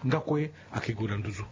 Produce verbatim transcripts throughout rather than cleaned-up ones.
Nga kue ayeke gue na nduzu.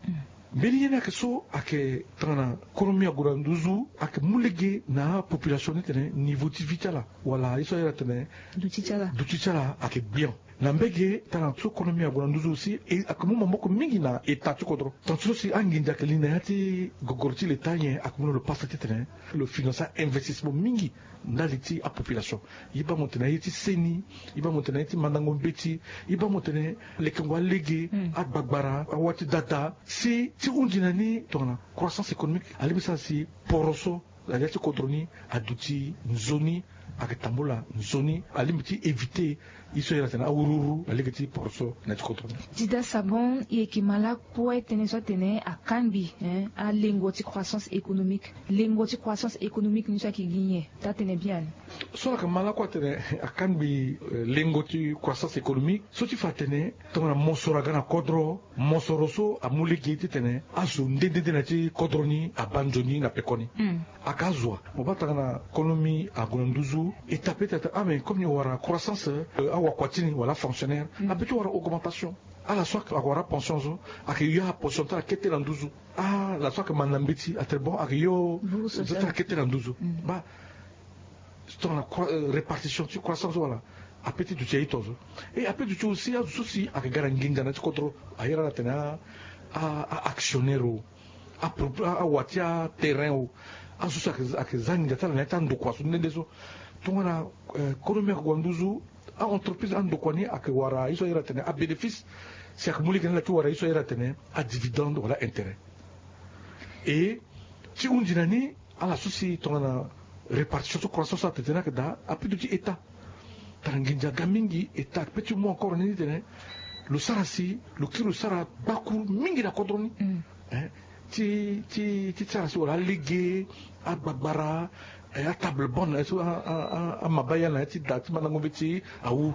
Mbeni ye ni ayeke so ayeke tongana konomi ague na nduzu ayeke mu lege na apopulation ni tene niveau ti vie ti ala wala ye so ayere atene duti ti ala ayeke gbian. Na mbege tongana so konomi ague na nduzu aussi e ayeke mu maboko mingi na eta ti kodro. Tanti so si anginza ayeke li na ya ti gogoro ti leta nyen ayeke mu na lo pasa titene lo financer investissement mingi ndali ti apopulation. Ye baa mo tene aye ti seni, ye baa mo tene aye ti mandango mbeti, ye baa mo tene lekengo alege, agbagbara, awa ti dada. Si ti hunzi na ni tongana croissance économique alingbi sara si poro so na ya ti kodro ni aduti nzoni, ayeke tambula nzoni, alingbi ti éviter ye so ayere atene awuruwuru na lege ti poro so na ya ti kodro ni. Dida Sabon, e yeke ma lakue tënë so atene akangbi alengo ti croissance économique. Lengo ti croissance économique ni so ayeke gi nyen? Taa tene biani. So ala yeke ma lakue atene akangbi lengo ti croissance économique so ti fa atene tongana mosoro aga na kodro, mosoro so amu lege titene azo nde nde nde na ya ti kodro ni abaa nzoni na pekoni. Aka azo wa mo baa tongana konomi ague na nduzu, eta pe ti atene ah mais comme ni wara croissance, awakua ti ni wala afonctionnaire ape ti wara augmentation. Ala so ayeke wara apension so ayeke yo apension ti ala kete na nduzu. Ala so ayeke manda mbeti atene bon ayeke yo zo ti ala kete na nduzu. Baa tongana répartition ti croissance wala ape ti duti aye tongaso. E ape duti aussi azo so si ayeke ga na nginza na ya ti kodro, ayere ala atene a actionnaire o, awa ti aterrain o, azo so si ayeke za nginza ti ala na ya ti andokua so nde nde so. Tongana konomi ayeke gue na nduzu, a-entreprise andokua ni ayeke wara ye so ayere atene abénéfice, si ayeke mu lege na ala ti wara ye so ayere atene adividende wala intérêt. E ti hunzi na ni, ala so si tongana répartition so croissance so atene tene ayeke daa ape duti état. Tara nginza aga mingi, état ape ti mu encore na ni titene lo sara si lo kiri lo sara gbakuru mingi na kodro ni. Ti ti ti sara si wala alege, agbagbara, atable bonne so amabaya na ya ti da ti mandango mbeti awu.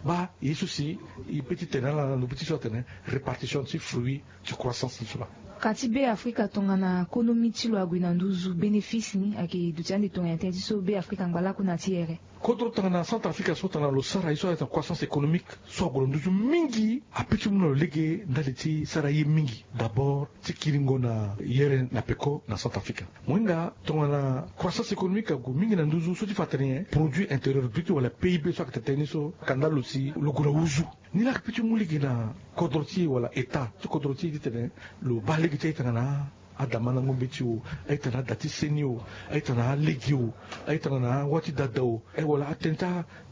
Baa ye so si e pe ti tene ala na lo be ti so atene répartition ti fruit ti croissance ni so laa. Ka ti Be Afrika tongana konomi ti lo ague na nduzu, bénéfice ni ayeke duti ande tongana tënë ti so Be Afrika angba lakue na ti here. Kodro tongana Centrafrique so tongana lo sara ye so ayeke croissance économique so ague na nduzu mingi, ape ti mu na lo lege ndali ti sara ye mingi. D'abord ti kiringo na yere na peko na Centrafrique. Mo hinga tongana croissance économique ague mingi na nduzu so ti fa atene produit intérieur brut wala P I B so ayeke tene ni so, kanda lo si lo gue na huzu. Ni laa ayeke pe ti mu lege na kodro ti e wala état ti kodro ti e titene lo baa lege ti aye tongana ada mandango mbeti o, aye tongana ada ti seni o, aye tongana alege o, aye tongana awa ti dada o, wala atënë ti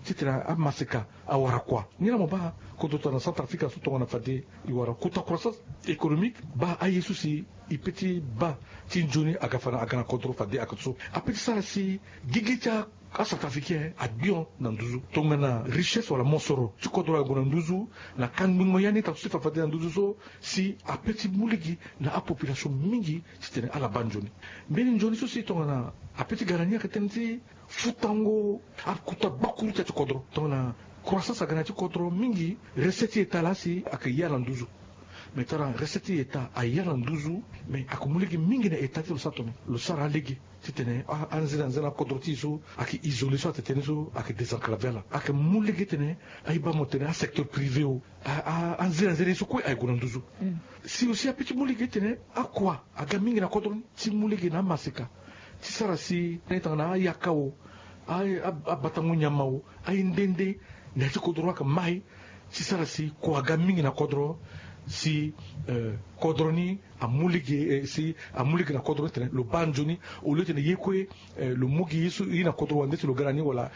titene amaseka awara kua. Ni laa mo baa kodro tongana Centrafrique so tongana fade e wara kota croissance économique, baa aye so si e pe ti baa ti nzoni aga fa na aga na kodro fade ayeke so ape ti sara si gigi ti a Centrafricain agbion na nduzu. Tongana richesse wala mosoro ti kodro ague na nduzu, na kangbingo ya ni tatu ti fa fade na nduzu so, si ape ti mu lege na apopulation mingi titene ala baa nzoni. Mbeni nzoni so si tongana ape ti ga na ni ayeke tënë ti futango akuta gbakuru ti ya ti kodro. Tongana croissance aga na ya ti kodro mingi, recette ti état laa si ayeke ya na nduzu. Mais tara recette ti état aya na nduzu, mais ayeke mu lege mingi na état ti lo sara tongana lo sara alege. Titene anzena nzena kodro ti e so ayeke isolé so atene tënë so ayeke désenclavé ala, ayeke mu lege titene aye baa mo tene asecteur privé o, anzena nzena ye so kue aye gue na nduzu. Si aussi ape ti mu lege titene akua aga mingi na kodro ni ti mu lege na amaseka ti sara si na ye tongana ayaka o, abatango nyama o, aye nde nde na ya ti kodro ayeke mai ti sara si kua aga mingi na kodro, si kodro ni amu lege, si amu lege na kodro ni tene lo baa nzoni. Au lieu tene ye kue lo mu gi ye so ye na kodro wande si lo ga na ni wala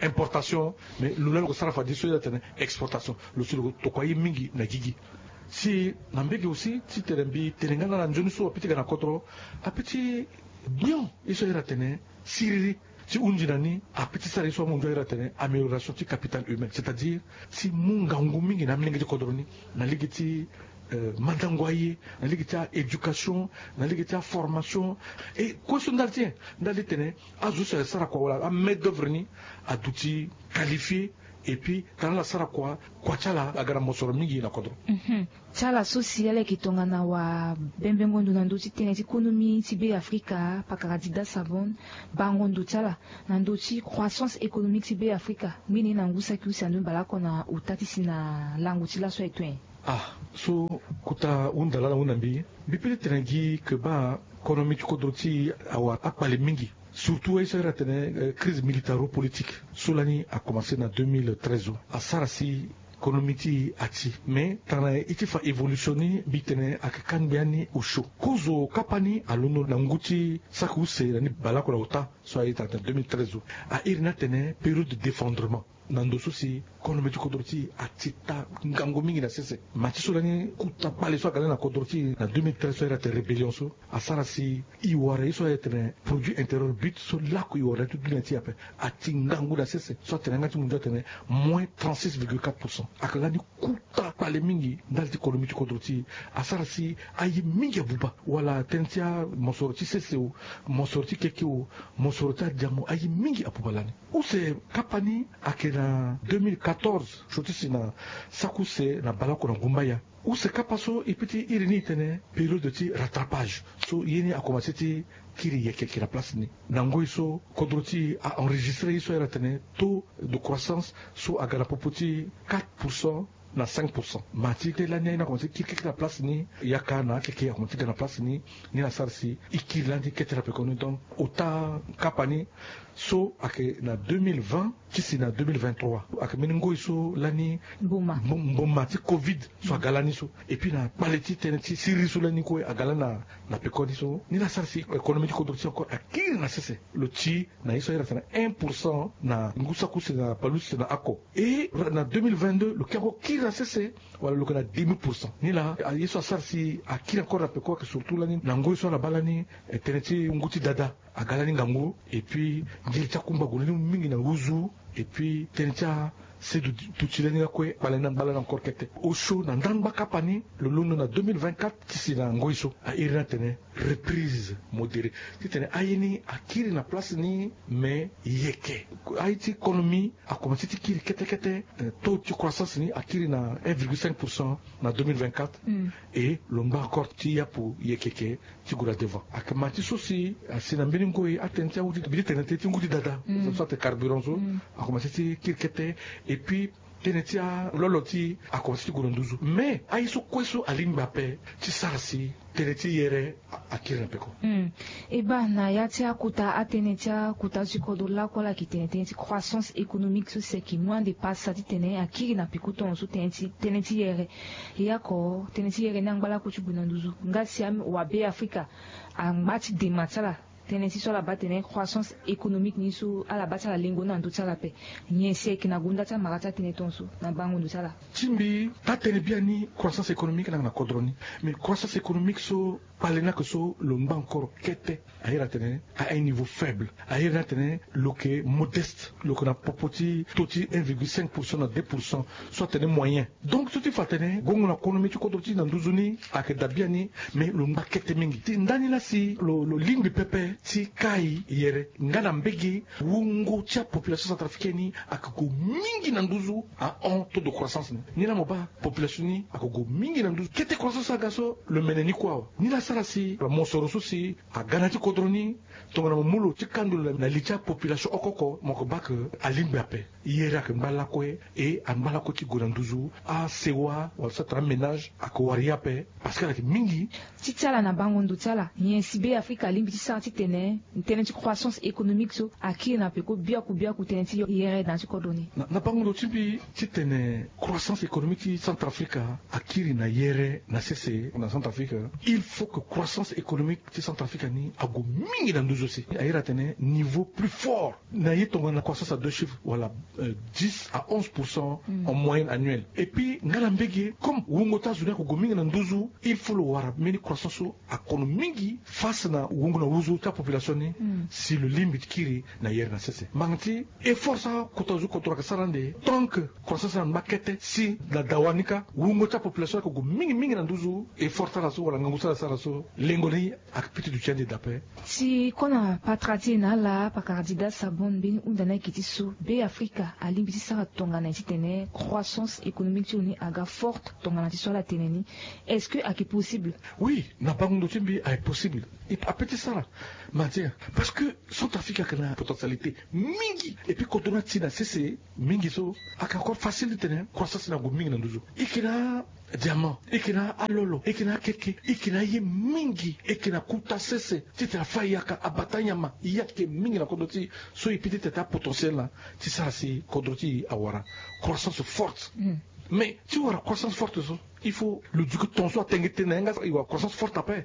importation, mais lo laa lo ke sara fade so ye atene exportation, lo si lo tokua ye mingi na gigi. Si na mbege aussi titene mbi tene nga na ala nzoni so ape ti ga na kodro, ape ti gbion ye so ayere atene siriri. Ti hunzi na ni ape ti sara ye so amunzu ayere atene amélioration ti capital humain, c'est-à-dire ti mu ngangu mingi na amolenge ti kodro ni, na lege ti mandango aye, na lege ti a-éducation, na lege ti aformation. E kue so ndali ti nyen? Ndali tene azo so ayeke sara kua wala amain d'œuvre ni aduti qualifié. Et puis tara ala sara kua, kua ti ala aga na mosoro mingi na kodro. Ti ala so si ala yeke tongana wabembengo ndo na ndö ti tënë ti konomi ti Be Afrika, pakara Dida Sabon, bango ndo ti ala na ndö ti croissance économique ti Be Afrika. Ngbene na ngu saki use ando ni baleoko na ota ti si na lango ti laso aye to nyen? Ah, so kota hunda lala hunda mbi, mbi pete tene gi ke baa konomi ti kodro ti e awara akpale mingi. Surtout aye so ayere atene crise militaro-politique so lani akomanse na deux mille treize so asara si konomi ti e ati. Mais tana e ti fa évolution ni mbi tene ayeke kangbi ani osio. Kozo kapa ni alondo na ngu ti saki use na ni baleoko na ota so aye tana na deux mille treize so. Airi ni atene période d'effondrement. Na ndo so si konomi ti kodro ti e ati taa ngangu mingi na sese. Ma ti so lani kota kpale so aga lani na kodro ti e na deux mille treize so ayere atene rébellion so asara si e wara ye so ayere atene produit intérieur brut so laku e wara na ya ti dunia ti e ape ati ngangu na sese. So atene yanga ti mundu atene moins trente-six virgule quatre pour cent. Ayeke lani kota kpale mingi ndali ti konomi ti kodro ti e. Asara si aye mingi abuba wala tënë ti amosoro ti sese o, mosoro ti keke o, mosoro ti adiamo aye mingi abuba lani. Use kapa ni ayeke na deux mille quatorze so ti si na saki use na baleoko na gumbaya. Use kapa so e peti iri ni e tene période ti rattrapage. So ye ni akomanse ti kiri yeke yeke na place ni. Na ngoi so kodro ti e a enregistré ye so ayere atene taux de croissance so aga na popo ti quatre pour cent na cinq pour cent. Ma ti te lani aye ni akomanse ti kiri keke na place ni, yaka na akeke akomanse ti ga na place ni. Ni la asara si e kiri lani ti kete na pekoni. Donc ota kapa ni so ayeke na deux mille vingt ti si na deux mille vingt-trois ayeke mbeni ngoi so lani mboma mboma ti covid so aga lani so. Et puis na kpale ti tënë ti siriri so lani kue aga lani na pekoni so. Ni la asara si économie ti kodro ti e encore akiri na sese. Lo ti na ye so ayere atene un pour cent na ngu saki use na pali use na ako. Et na deux mille vingt-deux lo ke encore kiri na sese wala lo ke na demi pour cent. Ni la ye so asara si akiri encore na peko ayeke surtout lani na ngoi so ala baa lani tënë ti ngu ti dada aga lani ngangu. Et puis ngiri ti akumba ague lani mingi na huzu. Et puis tënë ti asedutu ti lani lakue akpale ni angba lani encore kete. Osio na ndangba kapa ni lo londo na deux mille vingt-quatre ti si na ngoi so airi ni atene reprise modérée. Titene aye ni akiri na place ni mais yeke. Aye ti konomi akomanse ti kiri kete kete. Taux ti croissance ni akiri na un virgule cinq pour cent na deux mille vingt-quatre. Et lo ngba encore ti yapu yeke yeke ti gue na devant. Ayeke ma ti so si asi na mbeni ngoi atënë ti angu ti mbi ti tene tënë ti ngu ti dada so atene carburant so akomanse ti kiri kete. Et puis tënë ti alolo ti e akomanse ti gue na nduzu. Mais aye so kue so alingbi ape ti sara si tënë ti yere akiri na peko. E baa na ya ti akota atënë ti akota ti kodro lakue ala yeke tene tënë ti croissance économique so si ayeke mu ande pasa titene akiri na peko tongaso tënë ti tënë ti yere. E oko tënë ti yere ni angba lakue ti gue na nduzu nga si awabe afrika angba ti dema ti ala. Tënë ti so ala baa tene croissance économique ni so ala baa ti ala lengo ni na ndö ti ala ape. Nyen si ayeke na gonda ti amara ti atënë tongaso na bango ndo ti ala? Ti mbi taa tënë biani croissance économique ni ayeke na kodro ni. Mais croissance économique so kpale ni ayeke so lo ngba encore kete. Ayere atene à un niveau faible. Ayere ni atene lo yeke modeste. Lo yeke na popo ti taux ti un virgule cinq pour cent na deux pour cent so atene moyen. Donc so ti fa atene gongo na konomi ti kodro ti na nduzu ni ayeke daa biani. Mais lo ngba kete mingi ti ndani laa si lo lingbi pepe ti kai yere nga na mbege wungo ti apopulation centrafricaine ni ayeke gue mingi na nduzu ahon taux de croissance ni. Ni laa mo baa population ni ayeke gue mingi na nduzu kete croissance aga so lo mene ni kue awe. Ni laa asara si mosoro so si aga na ya ti kodro ni tongana mo mu lo ti kando lo na li ti apopulation oko oko mo yeke baa ke alingbi ape. Yere ayeke ngba lakue. E angba lakue ti gue na nduzu asewa wala so atene amenage ayeke wara ye ape. Parce que ala yeke mingi. Ti ti ala na bango ndo ti ala nyen si be afrika alingbi ti sara titene tënë ti croissance économique so akiri na peko biaku biaku tënë ti yere na ya ti kodro ni? Na bango ndo ti mbi titene croissance économique ti centrafrique akiri na yere na sese na centrafrique. Il faut que croissance économique ti centrafrique ni ague mingi na nduzu si ayere atene niveau plus fort na ye tongana croissance à deux chiffres wala dix à onze pour cent en moyenne annuelle. Et puis nga na mbege comme wungo ti azo ni ayeke gue mingi na nduzu, il faut lo wara mbeni croissance so akono mingi face na wungo na huzu ti apopulation ni. Si lo lingbi ti kiri na yere na sese mbanga ti effort so akota zo kodro ayeke sara ande tant que croissance ni angba kete si na dawa ni kâ wungo ti apopulation ayeke gue mingi mingi na nduzu. Effort ti ala so wala ngangu ti ala sara so lengo ni ayeke piti duti ande dape. Si kona patara ti e na ala pakara dida sabon mbeni hunda ni ayeke ti so be afrika alingbi ti sara tongana nyen titene croissance économique ti lo ni aga forte tongana ti so ala tene ni? Est-ce que ayeke possible? Oui. Na bango ndo ti mbi aye possible. Ape ti sara. Mantia. Parce que Centrafrique ayeke na potentialité mingi. Et puis kodro ni ati na sese mingi so ayeke encore facile titene croissance ni ague mingi na nduzu. E yeke na diamant, e yeke na alolo, e yeke na akeke, e yeke na aye mingi, e yeke na kuta sese titene afa yaka, abata nyama. Ye ayeke mingi na kodro ti e. So e peut ti tene ti apotentiel na ti sara si kodro ti e awara croissance forte. Mais ti wara croissance forte so, il faut lo duke ton so atenge tënë na yanga, e wara croissance forte ape.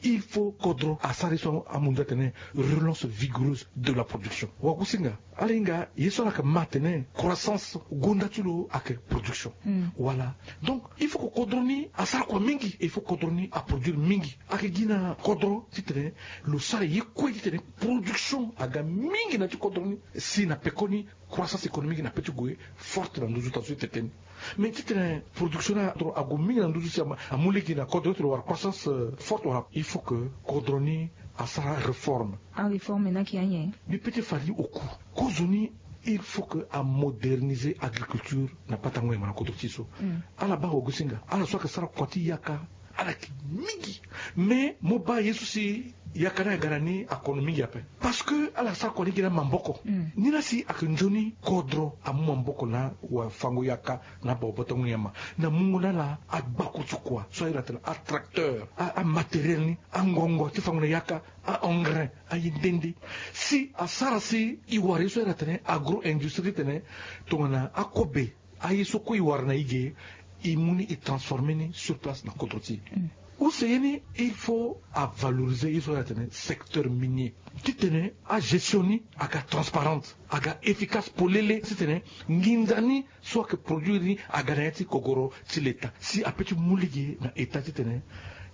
Il faut kodro asara ye so amu nda atene relance vigoureuse de la production. Wagosinga ala hinga ye so ala yeke ma atene croissance gonda ti lo ayeke production. Wala. Donc il faut que kodro ni asara kua mingi, il faut kodro ni aproduire mingi. Ayeke gi na kodro titene lo sara ye kue titene production aga mingi na ti kodro ni. Si na pekoni croissance économique na pe ti gue forte na nduzu, tongana so e tene tënë ni. Mais titene production ni ague mingi na nduzu si amu lege na kodro ti lo wala croissance forte wala, il faut que kodro ni asara réforme. Aréforme na ki ayen. Mbi pe ti fa li oku. Kozoni, il faut que amoderniser agriculture na batango nyama na kodro ti e so. Ala baa wagosinga ala so ayeke sara kua ti yaka, ala yeke mingi. Mais mo baa ye so si yaka ni aga na ni akono mingi ape. Parce que ala sara kua ni gi na maboko. Ni laa si ayeke nzoni kodro amu maboko na wafango yaka na babatango nyama na mungo na ala agbakuru ti kua so aye na tena atracteur, amatériel ni, angongo ti fango na yaka, a-engrais, aye nde nde. Si asara si e wara ye so aye na tena agro-industrie titene tongana akobe, aye so kue e wara na e ge, e mu ni e transformer ni sur place na kodro ti e. Use ye ni, il faut avaloriser ye so aye na tena secteur minier titene agestion ni aga transparente, aga efficace polele titene nginza ni so ayeke produire ni aga na ya ti gogoro ti leta si ape ti mu lege na état titene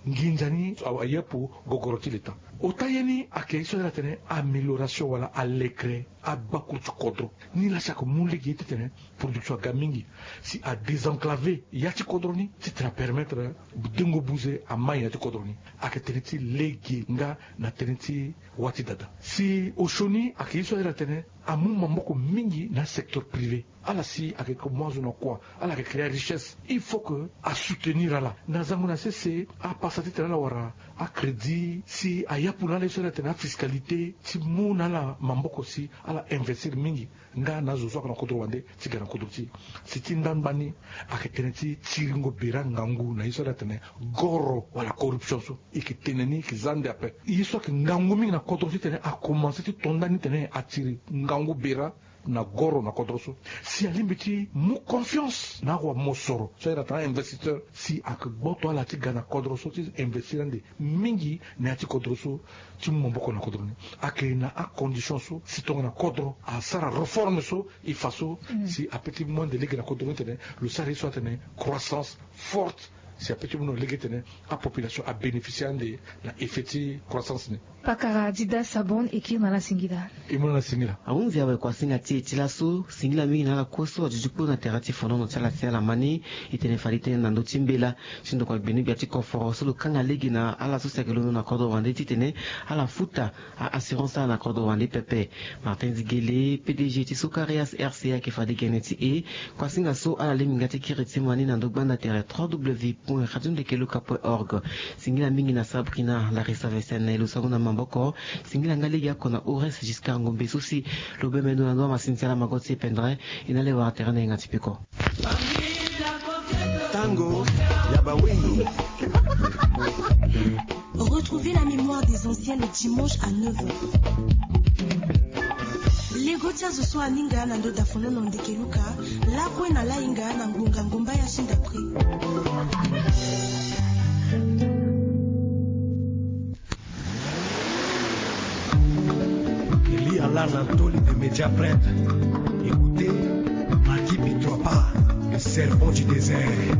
nginza ni aye apo gogoro ti leta. Ota ye ni ayeke ye so aye na tena amélioration wala alekere agbakuru ti kodro. Ni laa si ayeke mu lege titene production aga mingi, si adésenclaver ya ti kodro ni titene apermettre dengo buze amai na ya ti kodro ni. Ayeke tënë ti lege nga na tënë ti wâ ti dada. Si osio ni ayeke ye so aye na tena amu maboko mingi na secteur privé. Ala si ayeke mu azo na kua, ala yeke créer richesse, il faut que asoutenir ala na zango na sese. Apasa titene ala wara acrédit si ayapu na ala ye so aye na tena afiscalité ti mu na ala maboko si ala investir mingi nga na azo so ayeke na kodro wande ti ga na kodro ti e. Si ti ndangba ni ayeke tënë ti tiringo bira ngangu na ye so aye na tena goro wala corruption so. E yeke tene ni e yeke za nde ape. Ye so ayeke ngangu mingi na kodro titene akomanse ti to nda ni tene atiri ngangu bira na goro na kodro so. Si alingbi ti mu confiance na awamosoro so aye na tena investisseur, si ayeke gboto ala ti ga na kodro so ti investir ande mingi na ya ti kodro so ti mu maboko na kodro ni. Ayeke na acondition so si tongana kodro asara réforme so e fa so, si ape ti mu ande lege na kodro ni tene lo sara ye so atene croissance forte. Si ape ti mu na lege tene apopulation abénéficier ande na effet ti croissance ni. Pakara Dida Sabon e kiri na ala singila. E mu na ala singila. Ahunzi awe kuasinga ti e ti laso, singila mingi na ala kue so aduti kporo na tere ti fonono ti ala si ala ma ni. E tene fade tënë na ndö ti mbela ti ndokua gbeni gbia ti koforo so lo kanga lege na ala so si ayeke londo na kodro wande titene ala futa a-assurance ala na kodro wande pepe. Martin Zigele, P D G ti Socarias R C A, ayeke fade gene ti e. Kuasinga so ala lingbi nga ti kiri ti ma ni na ndö gbanda tere trois W point radio ndeke luka point org. Singila mingi na Sabrina Larissa Vesen na e lo sango na maboko. Singila nga lege oko na Horace Giscard Ngombe so si lo bembe ndo na ndo amasini ti ala mago ti e pendere. E na ala e wara tere na yenga ti peko. Tango ya bawingi. Retrouvez la mémoire des anciens le dimanche à neuf heures. Lego ti azo so aninga na ndo dafonono ndeke luka, lakue na lainga na ngbonga ngomba ya shinda prix. Eli Alarna Toli de Media Prep. Écoutez, Maki Bitropa, le serpent du désert.